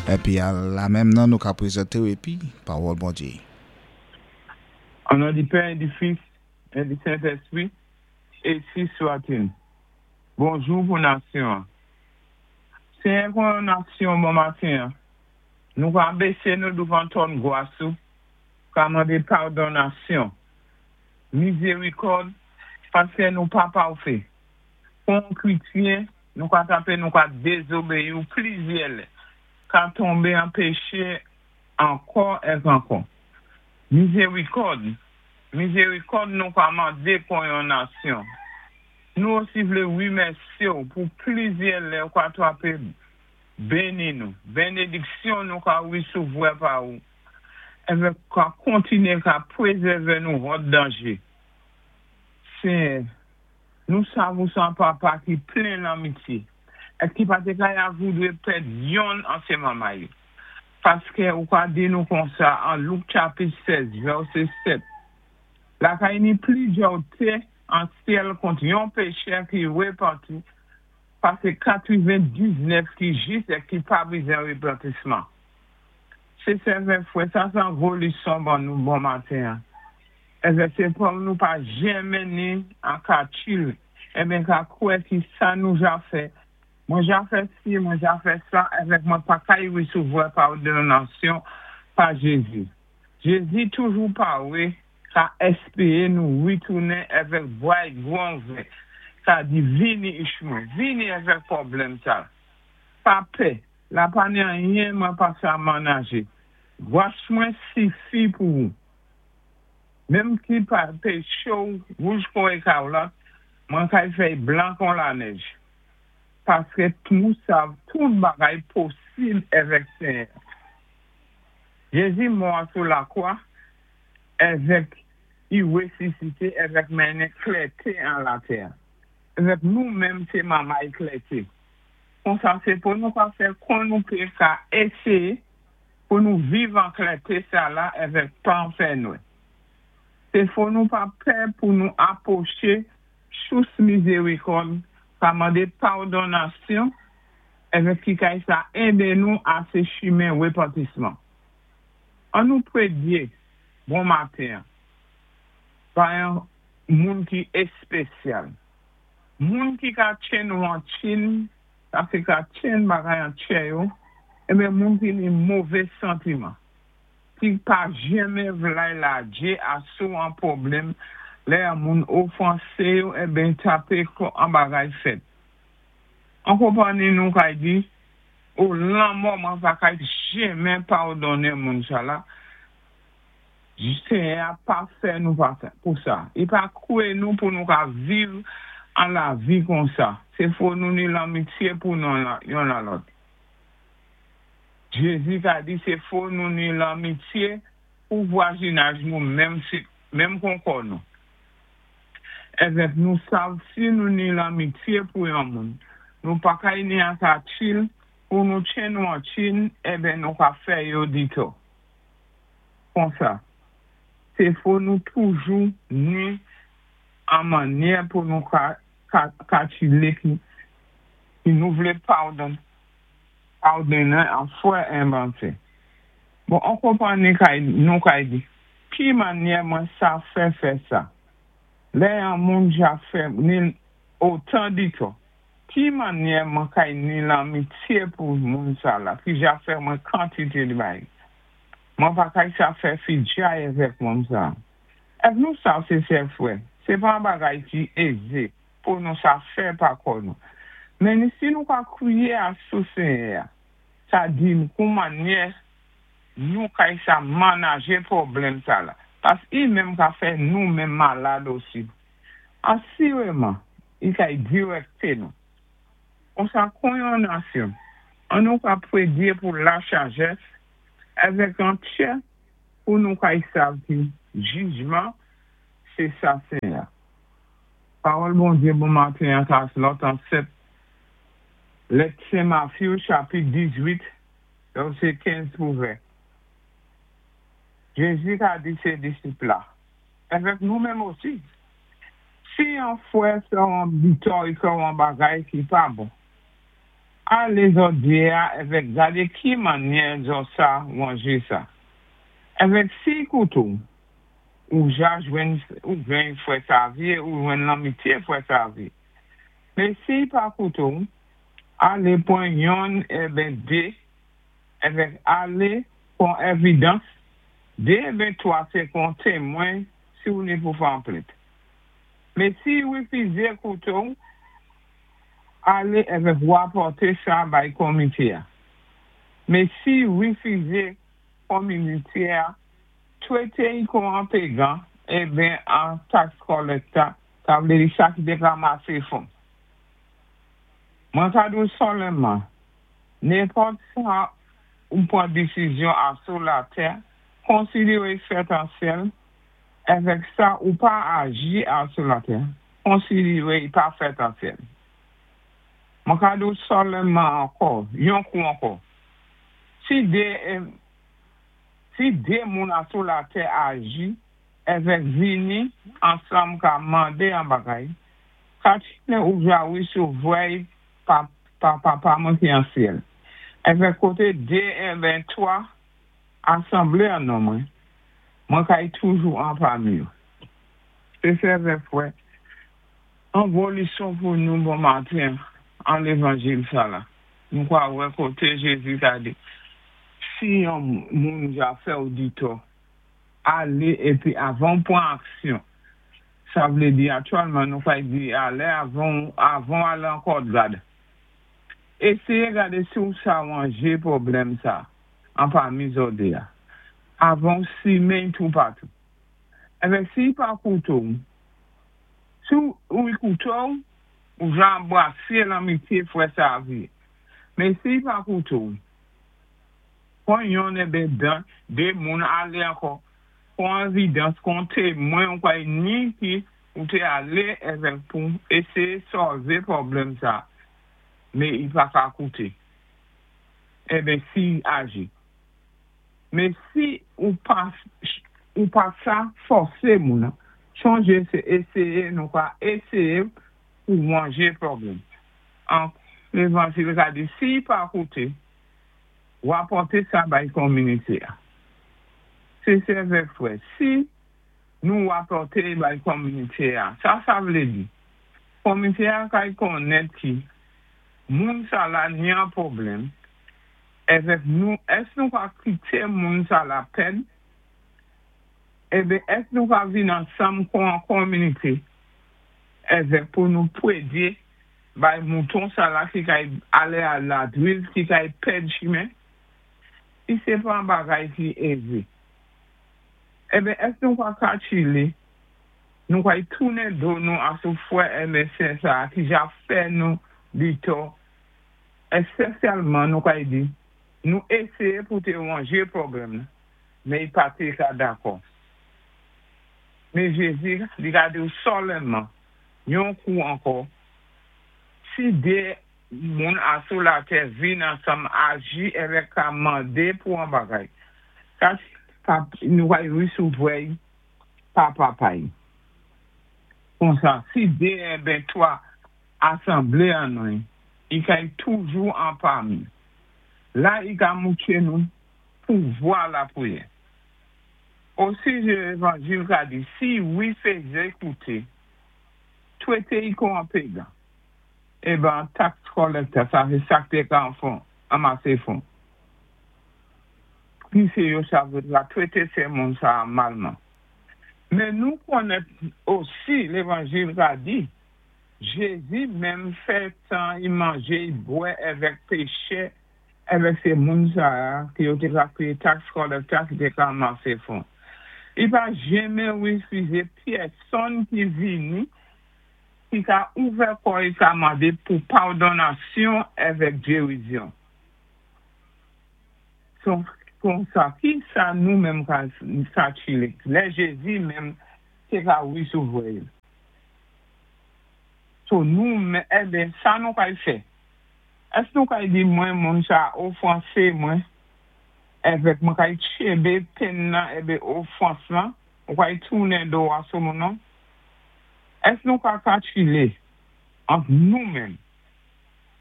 Épi a la menm nan nou ka pwézanté-w épi Pawòl Bondyé. An non di Pè, di Fis, é di Sentéspwi, énsi swat-il. Bonjou pou nasyon-an. Senyè, kon yon nasyon bon maten-an, nou ka bésé nou douvan twòn gwas ou, ka mandé padonnasyon, mizérikòd, paské nou pa pafè. Kon yon krétyen, nou ka tapé, nou ka dézobéyi-w plizyè lè, ka tonbé an péché ankò èk ankò. Mizérikòd, mizérikòd nou ka mandé kon yon nasyon. Nou osi vlé wimèsyé-w pou plizyè lè ou ka twapé béni nou. Bénédiksyon nou ka wisovwè pa ou. Èvèk ka kontinyé ka pwézèvé nou hòd danjé. Senyè, nou sav ou sé an Papa ki plen lanmityé, èk ki pa té ka ya voudwé pèd yonn an sé manmay. Paské ou ka di nou konsa an Louk chapit 16, vèsé 7. La kay ni pli djòté an syèl kont yon péchè ki wépanti pasé 99 ki jis é ki pa bizwen wépantisman. Sé sèvè fwè, sa sé an gwo léson ban nou bon maten. Èvè sé pou nou pa jenmen ni an katchil, eben ka kwè ki sa nou ja fè. Mwen ja fè si, mwen ja fè sa, èvèk mwen pa kay wisovwè padonnasyon pa Jézi. Jézi toujou pawé ka éspéwé nou witounen èvèk bway gwan ouvè. Ka di vini ich mwen, vini èvèk pwoblèm sa. Pa pè, la pa ni anyen mwen pa sa manajé. Gwas mwen sifi pou ou. Menm ki pa péché-w wouj kon ékawlat, mwen kay fè blan kon lanèj. Paské nou sav tout bagay posib èvèk Senyè. Jézi mò sou lakwa èvèk i wésisité èvèk mennen klèté an latè. Èvèk nou menm sé manmay klèté. Konsa sé pou nou ka fè kon nou pé ka éséyé pou nou viv an klèté sa la èvèk pa an fènwè. Sé fò nou pa pè pou nou apwoché sous mizérikòd ka mandé padonnasyon èvèk ki kay sa édé nou a sé chimen wépantisman. An nou pwédyé bon maten pa yon moun ki éspésyal. Moun ki ka tjenn ou an tchin, sa sé ka tjenn bagay an tchè yo, eben moun ki ni mové santiman. Ki pa jenmen vlay ladjé asou an pwoblèm, lè an moun ofansé yo, eben tapé an bagay fèt. An konpanni nou kay di, ou lanmò mwen pa kay jenmen padonnen moun sa la, Senyè a pa fè nou pa pou sa. I pa kwé nou pou nou ka viv an lavi konsa. Sé fò nou ni lanmityé pou nou yon la lòt. Jézi ka di sé fò nou ni lanmityé pou vwazinaj nou menm si menm kon kò nou. Èvèk nou sav si nou ni lanmityé pou yon moun. Nou pa kay ni an katchil pou nou tjenn ou an tchin, eben nou ka fè yo ditò. Konsa, sé fò nou toujou ni an mannyè pou nou ka katchilé ki, ki nou vlé padon padonnen an fwè envantè. Bon, an konpanni kay nou kay di, ki mannyè mwen sa fè fè sa? Lè an moun ja fè ni otan ditò. Ki mannyè mwen kay ni lanmityé pou moun sa la, ki ja fè mwen kantité di bay. Mwen pa kay sa fè fidjay èvèk moun sa. Èk nou sav sé sè fwè, sé pa an bagay ki ézé pou nou sa fè pa kò nou. Men si nou ka kwiyé asou Senyè, sa di kou mannyè nou kay sa manajé pwoblèm sa la. Pas i menm ka fè nou menm malad osi. Asiréman, i kay dirèkté nou. Konsa kon yon nasyon, an nou ka pwédyé pou lasajès èvèk an tchè pou nou kay sav ki jijman sé sa Senyè. Pawòl Bondyé bon maten an ka lòt an 7 lèt Sen Matthew chapit 18 vèsé 15 pou 20. Jézi ka di sé disip la, èvèk nou menm osi, si yon fwè fè an ditò i fè an bagay ki pa bon. Alé zòdi-a èvèk gadé ki mannyè zò sa wanjé sa. Èvèk si-y kouté-w, ou ja jwenn ou jwenn frè Savye, ou jwenn lanmityé frè Savye. Mé si-y pa kouté-w, alé pwan yonn èben dé, èvèk alé kon èvidans, dé èben twa sé kon témwen si ou ni pou fè an plent. Mé si-y wifizé kouté-w, alé èvèk wapòté sa bay komité-a. Mé si-y wifizé komité-a, twété-y kon an pégan èben an tax collector, sa vlé di sa ki té ranmasé fon. Mwen ka di-w sòlènman, nenpòt sa ou pwan disizyon asou latè, konsidéwé fèt an syèl, èvèk sa ou pa aji asou latè, konsidéwé i pa fèt an syèl. Mwen ka di-w sòlènman ankò, yon kou ankò, si dé si dé moun asou latè aji, èvèk vini ansanm ka mandé an bagay, katchilé ou ja wisovwè-y pa pa Papa mwen ki an syèl. Èvèk koté dé èben twa asanblé an non mwen, mwen kay toujou anpami yo. Sé sè èvèk frè, an gwo lison pou nou bon maten an lévanjil sa la. Nou kwa wè koté Jézi ka di, si yon moun ja fè-w ditò, alé épi avan pwan aksyon, sa vlé di aktyèlman nou kay di alé avan avan alé an kòdgad. Éséyé gadé si ou sa wanjé pwoblèm sa anpami zòdé-a. Avan ou simen toupatou. Èvèk si-y pa kouté-w, si ou kouté-w, ou ja anbrasé lanmityé frè Savye. Mé si-y pa kouté-w, pwan yonn èben dan, dé moun alé ankò, kon èvidans, kon témwen ou kay ni ki ou té alé èvèk pou éséyé sòlvé pwoblèm sa, mé i pa ka kouté. Èben si aji. Mé si ou pa ou pa sa fòsé moun, chonjé sé éséyé nou ka éséyé pou wanjé pwoblèm. An lévanjil ka di si pa kouté, wapòté sa bay kominité-a. Sé sè èvèk frè, si nou wapòté bay kominité-a, sa sa vlé di, komité-a kay konnèt ki moun sa la ni an pwoblèm, èvèk nou, ès nou ka kité moun sa la pèd, èben ès nou ka vin ansanm kon an kominité, èvèk pou nou pwédyé bay mouton sa la ki kay alé a la driv, ki kay pèd chimen, si sé pa an bagay ki ézé. Èben ès nou ka katchilé, nou kay tounen do nou asou frè èben sè sa ki ja fè nou ditò, èspesyalman nou kay di, nou éséyé pou té wanjé pwoblèm nan, mé i pa té ka dakò. Mé Jézi li ka di-w sòlènman, yon kou ankò, si dé moun asou latè vin ansanm aji èvèk ka mandé pou an bagay, ka nou kay wisovwè-y pa Papa-y. Konsa, si dé èben twa asanblé an non-y, i kay toujou anpami. La i ka moutwé nou pouvwa lapwiyè. Osi lévanjil ka di, si wifizé kouté, twété-y kon an pégan. Èben tax collector, sa sé sa té ka an fon, anmasé fon. Ki sé yo sa vlé la twété sé moun sa malman. Mé nou konnèt osi lévanjil ka di, Jézi menm fè tan i manjé i bwè èvèk péchè, èvèk sé moun sa ki yo té ka kwiyé tax collector ki té ka anmasé fon. I pa jenmen wifizé pyèsonn ki vini ki ka ouvè kò-y ka mandé pou padonnasyon èvèk gérizyon. So, konsa, ki sa nou menm ka katchilé? Lè Jézi menm té ka wisovwè-y. So nou menm, èben, sa nou kay fè? Ès nou kay di mwen moun sa ofansé mwen, èvèk mwen kay tchenbé penn nan èben ofans lan, ou kay tounen do asou moun nan? Ès nou ka katchilé ant nou menm?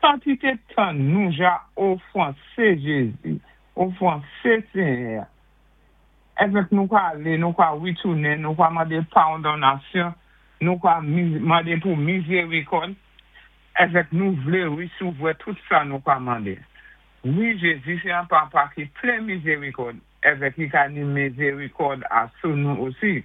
Tant i té tann nou ja ofansé Jézi, ofansé Ségnè-a. Avèk nou ka alé, nou ka witounen, nou ka mandé padonnasyon, nou ka mandé pou mizérikòd, avèk nou vlé wésouvoua tout sa nou ka mandé. Wi, Jézi sé an Papa ki plen mizérikòd, avèk i ka ni mizérikòd asou nou osi.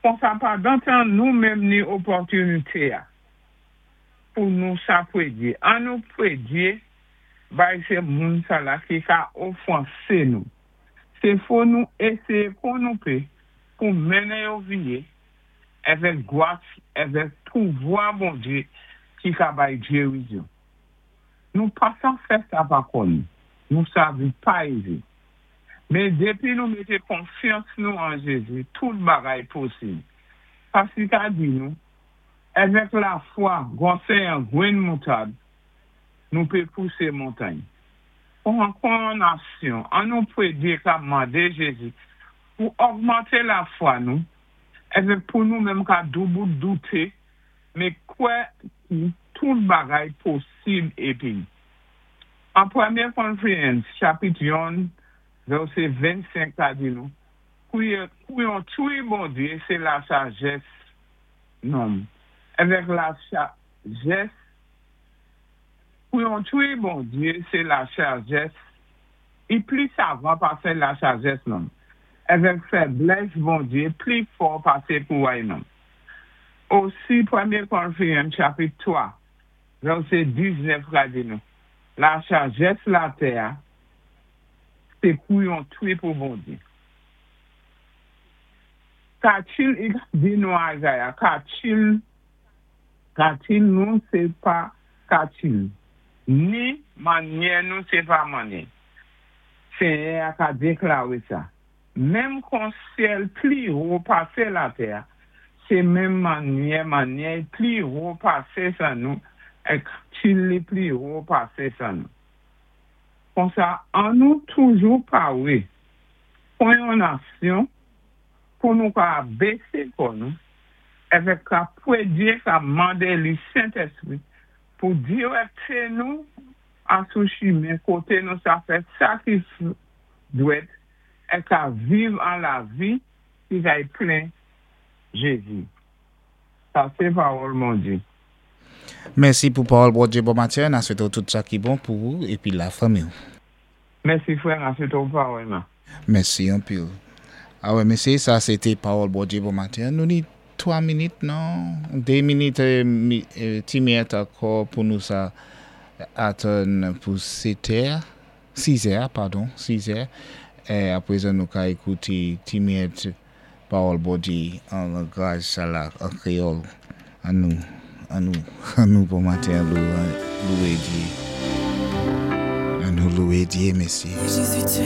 Konsa pandan tan nou menm ni opòtinité-a pou nou sa pwédyé. An nou pwédyé bay sé moun sa la ki ka ofansé nou. Sé fò nou éséyé kon nou pé pou mennen yo viyé avèk gwas, avèk pouvoua Bondyé ki ka bay gérizon. Nou pa sa fè sa pa kò nou. Nou sa vi pa ézé. Men dépi nou mété konfyans nou an Jézi, tout bagay posib. Paski ka di nou, avèk lafwa, gwosè an gwenn moutad, nou pé pousé montay. Pou ankò nasyon, an nou pwédyé ka mandé Jézi pou ogmanté lafwa nou, avèk pou nou menm ka doubout douté, men kwè ki tout bagay posib épi. An 1 Korentyen, chapit 1, vèsé 25 ka di nou, kouyontwi Bondyé, sé la sajès nonm. Avèk la sajès, kouyontwi Bondyé, sé la sajès, i pli savan pasé la sajès nonm. Avèk fèblès Bondyé, pli fò pasé pouvoua nonm. Osi, 1 Korentyen, chapit 3, vèsé 19 ka di nou, la sajès latè, sé kouyontwi pou Bondyé. Katil, i di nou Isaiah, katil, katil nou sé pa katil, ni mannyè nou sé pa mannyè. Ségnè a ka déklaré sa. Menm kon syèl pli wo pasé latè, sé menm mannyè, mannyè pli wo pasé sa nou, é katil li pli wo pasé sa nou. Konsa, an nou toujou paré pou yon nasyon, pou nou ka bésé kò nou, avèk ka pwédyé ka mandé li Sentèspwi, pou direkté nou asou chimen koté nou sa fè sa ki dwèt, é ka viv an lavi ki kay plè Jézi. Sa sé pawòl Bondyé. Mèsi pou pawòl Bondyé bon maten. N a swété tout sa ki bon pou ou épi la fanmi. Mèsi frè, n a swété parèyman. Mèsi anpil. A wè, mésyé, sa sé té pawòl Bondyé bon maten. Nou ni 3 minit, non? 2 minit, ti minit ankò pou nou sa atann pou 7 è, 6 è, padon, 6 è. É apré nou ka ékouté ti minit pawòl Bondyé an langaj sa la, an kwéyòl. An nou, an nou, an nou bon maten, louwé Dyé. An nou louwé Dyé, mésyé. Jésus, tu